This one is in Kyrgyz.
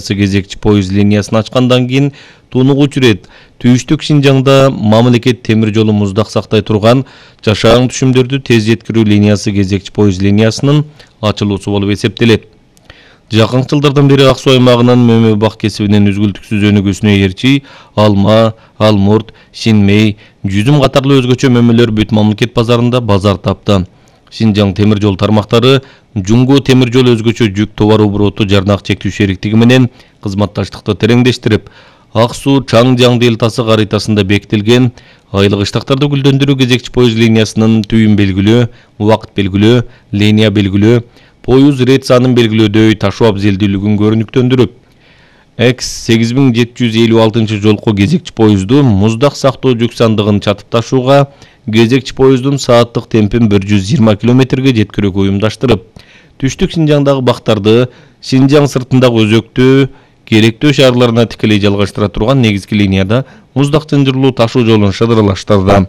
кезекчи поезд линиясын ачкандан кийин тунугучу ирет Түштүк Шинжаңда мамлекет темир жолу муздак сактай турган жашаан түшүмдөрдү тез жеткирүү линиясы кезекчи поезд линиясынын ачылуусу болуп эсептелет. Жакынкы жылдардан бери Ак Суу аймагынын мөмө бак кесибинин үзгүлтүксүз өнүгүүсүнө ээрчи алма, алмурт, шинмей, жүзүм катарлуу өзгөчө мөмөлөр бүт мамлекет базарында базар тапты. Шинжаң темир жол тармактары Жумго темир жол өзгөчө жүк товар обороту жарнак чектүү шериктиги менен кызматташтыкты тереңдештирип, Ак Суу Чаңжаң делтасы каритасында бекитилген айлык иштактарды гүлдөндүрүү кезекчи поезд линиясынын түйүн белгилөө, убакыт белгилөө, линия белгилөө, поезд рейд санын белгилөөдөй ташуу абзелдүүлүгүн көрүнүктөндүрүп, X8756 жолку кезекчи поезду муздак сактоо жүк сандыгын чатып ташууга, кезекчи поезддун сааттык темпин 120 км/ге жеткирүүгө уюмдаштырып, Түштүк Шинжаңдагы бактарды Шинжаң сыртындагы өзөктүү, керектөө шаарларына тикелей жалгаштыра турган негизги линияда муздак чынжырлуу ташуу жолун шыдырылаштырды.